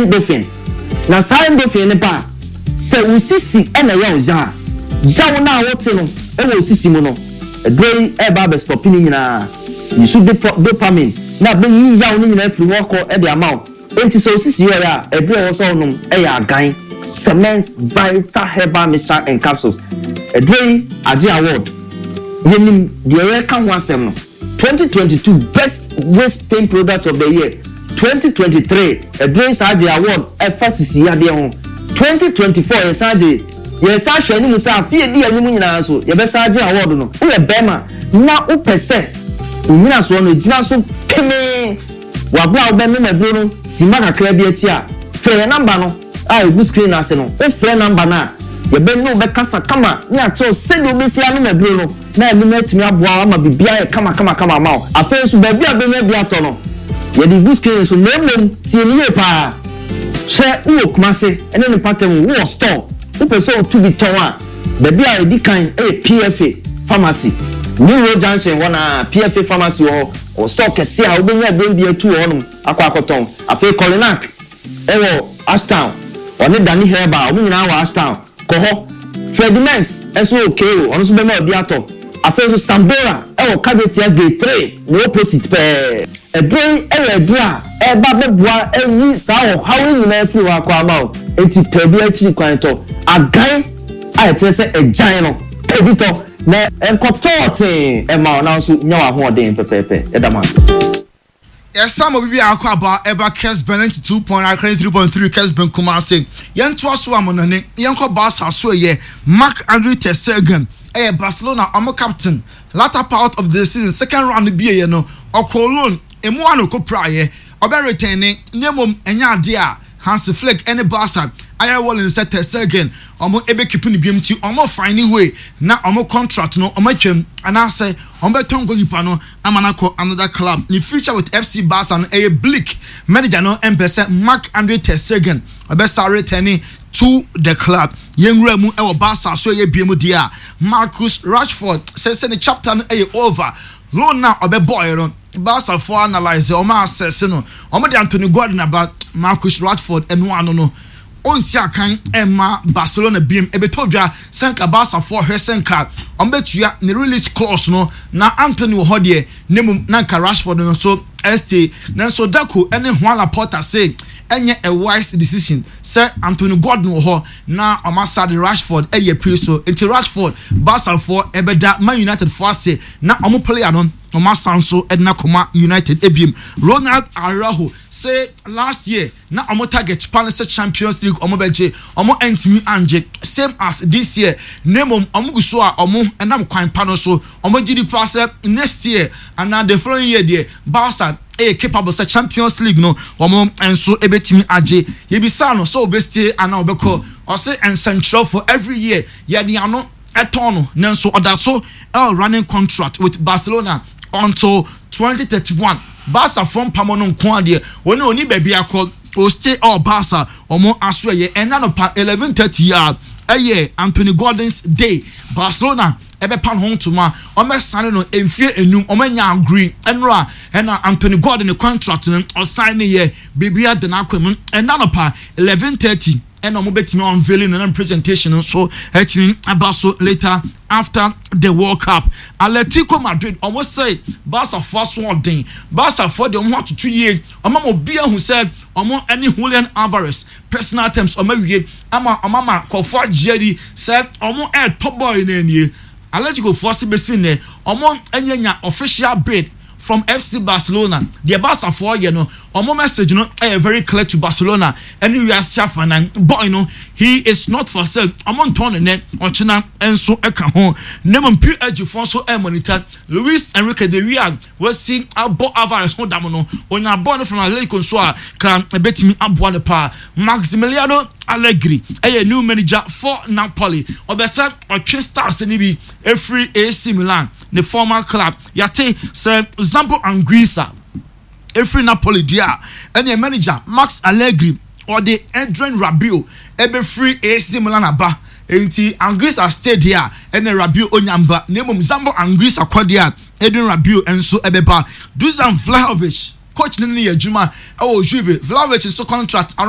Endorphin. Na saa endorphin no ba a, sɛ wo sisi na ɛyɛ wo ya a, yaw no a wote no wɔ wo sisi mu no, aduro yi reba abɛstɔpe ne nyinaa. Yi so dopamine na abɛyi yaw no nyinaa afiri hɔ akɔ de ama wo. Enti sɛ wo sisi yɛ ɔya a, aduro a ɛwɔ sɛ wonom yɛ Agan Semens Vital Herbal Mixture and Capsules. Aduro yi agye award. Yɛnim deɛ yɛreka ho asɛm no. 2022 Best Waist Pain Product of the Year, 2023 aduro yi saa gyee award ɛfa sisi yadeɛ ho, 2024 yɛsan gyee, yɛsan hwɛ anim sɛ afe a ɛdi anim nyinaa nso yɛbɛsan agye award no. Woyɛ barima na wopɛ sɛ wo nyinasoɔ no gyina so pemee wɔ aberɛ a wobɛnom aduro no simma kakra bi akyi a, frɛ yɛn number no a ɛgu screen no ase no. Wofrɛ number no a, yɛbɛne wo bɛkasa kama ne akyerɛ wo sɛdeɛ wobɛsi anom aduro no. Na ɛno no atumi aboa wo ama biribiara ayɛ kamakamakama ama wo. Afei nso, baabi a wobɛnya bi atɔ no, yɛde regu screen no so. Na mmom, tie no yie pa ara. Sɛ wowɔ Kumase ne ne mpɔtam mu, wowɔ store, wopɛ sɛ wotu bi tɔn a, baabi a ɛdi kan yɛ PFA Pharmacy. New Road Junction hɔ no ara, PFA Pharmacy wɔ hɔ. Wɔwɔ store kɛseɛ a wobɛnya aduro no bi atu wɔ hɔnom akɔ akɔtɔn. Afei Kolinak wɔ Ashtown, ɔne Danny Herbal, wɔn nyinaa wɔ Ashtown. Kɔ hɔ. Freddie Mens nso wɔ Cairo, ɔno nso bɛma obi atɔ. Afei nso Sambora wɔ Kajetia Gate 3 ne opposite pɛɛ. Aduro yi yɛ aduro a ɛreba abɛboa ayi saa ɔhaw yi nyinaa afiri hɔ akɔ ama wo. Enti pɛ bi akyiri kwan tɔ. Agan a ɛkyerɛ sɛ agyan no, pɛ bi tɔ na ɛnkɔtɔɔ tee mma wo na wo nso nya w'ahoɔden pɛpɛɛpɛ. Yɛda mo ase. Yɛsan ma obi bi akɔ aba ɛba Kesben 92.9 93.3 Kesben Kumasi. Yɛntoa so amonane yɛnkɔ Barca so ɛyɛ Marc Andre ter Stegen ɛyɛ Barcelona ɔmo captain latter part of the season second round no bieɛ no ɔkɔɔ loan emu a na ɔkɔ piraeɛ ɔbɛ retɛne na mmom ɛnyɛ adeɛ a Hansi Flick ne Barca ayɛ willing sɛ Ter Stegen ɔmo bɛ keep no biom nti ɔmo find way na ɔmo contract no ɔmo atwam anaasɛ ɔmo bɛtɔn goalkeeper no ama no akɔ another club. Ne future with FC Barca no ɛyɛ bleak, manager no mpɛ sɛ Marc Andre Ter Stegen ɔbɛsa return to the club. Yɛn wura mu wɔ Barca so ɛyɛ biom deɛ a Marcus Rashford sɛ sɛ ne chapter no ɛyɛ over, loan no a ɔbɛbɔɔɛ no Barca foɔ analyse wɔn assess no wɔn de Anthony Gordon aba Marcus Rashford ɛno ano no ɔnsi akan ɛmma Barcelona biom ɛbɛtɔ dwa sɛ nka Barca foɔ hwɛ sɛ nka wɔn bɛtua ne release clause no na Anthony wɔ hɔ deɛ ne mmom na nka Rashford no nso stay nanso Deco ɛne Juan Laporta se ɛnyɛ a wise decision sɛ Anthony Gordon wɔ hɔ na wɔn asa de Rashford ɛde apue so nti Rashford Barca foɔ ɛbɛda Man United foɔ ase na wɔn player no Wɔn asan nso de no akɔma United ebiem. Ronald Araujo se last year na wɔn target pa ne sɛ Champions League wɔn bɛgye, wɔn antumi angye same as this year na mmom wɔn gu so a wɔn nam kwan pa no so. Wɔn gye di paa sɛ next year anaa the following year deɛ Barca yɛ capable sɛ Champions League no wɔn nso bɛtumi agye. Yɛbisaa no sɛ ɔbɛ stay anaa ɔbɛkɔ, ɔse nsɛnkyerɛwfoɔ every year yɛde ano tɔn no nanso ɔda so wɔ running contract with Barcelona until 2031. Barca foɔ mpamɔ no nko ara deɛ wɔn ɔni baabi akɔ, o stay wɔ Barca wɔn aso ɛyɛ ɛna anɔpa 11:30 yi a ɛyɛ Anthony Gordon's day. Barcelona ɛbɛpa ne ho ntoma, wɔbɛsane no mfie enum, wɔanya agree ɛnora ɛna Anthony Gordon ne contract no ɔsan ne yɛ biribi ada n'akwan mu ɛna anɔpa 11:30. Ɛna ɔmo bɛtumi unveiling no na presentation no nso atumi aba so later after the World Cup. Atletico Madrid ɔmo sɛ Barca foɔ aso ɔden, Barca foɔ deɛ ɔmo ho atoto yie, ɔmo ama obi ahu sɛ ɔmo ɛne Julian Alvarez personal terms ɔmo awie ama ɔmo ama nkorɔfoɔ agye adi sɛ ɔmo ɛɛtɔ boy no anie. Atletico foɔ se besi nnɛ ɔmo anya nya official bid from FC Barcelona. Deɛ Barca foɔ yɛ no, wɔn message no yɛ very clear to Barcelona ɛne wiase afanan. Boy no, he is not for sale. Wɔn ntɔn no nnɛ, ɔkyena nso ka ho. Na mmom PSG foɔ nso ɛremonita Luis Enrique the way a wasi abɔ Alvarez ho dam no. Onya bɔɔl no from Atletico nso a, ka ɛbɛtumi aboa no paa. Maximiliano Allegri ɛyɛ new manager for Napoli. Ɔbɛsɛ ɔtwe stars no bi ɛfiri AC Milan, ne former club. Yɛate sɛ Zambo Anguissa firi Napoli deɛ a, ɛneɛ manager Max Allegri ɔde Adrien Rabiot bɛfiri AC Milan aba. Enti Anguissa stay deɛ a, ɛneɛ Rabiot ɔnya mba. Na mmom Zambo Anguissa kɔ deɛ a, Adrien Rabiot nso bɛba. Dusan Vlahovic, coach no ne yɛ adwuma wɔ Juve. Vlahovic nso contract around.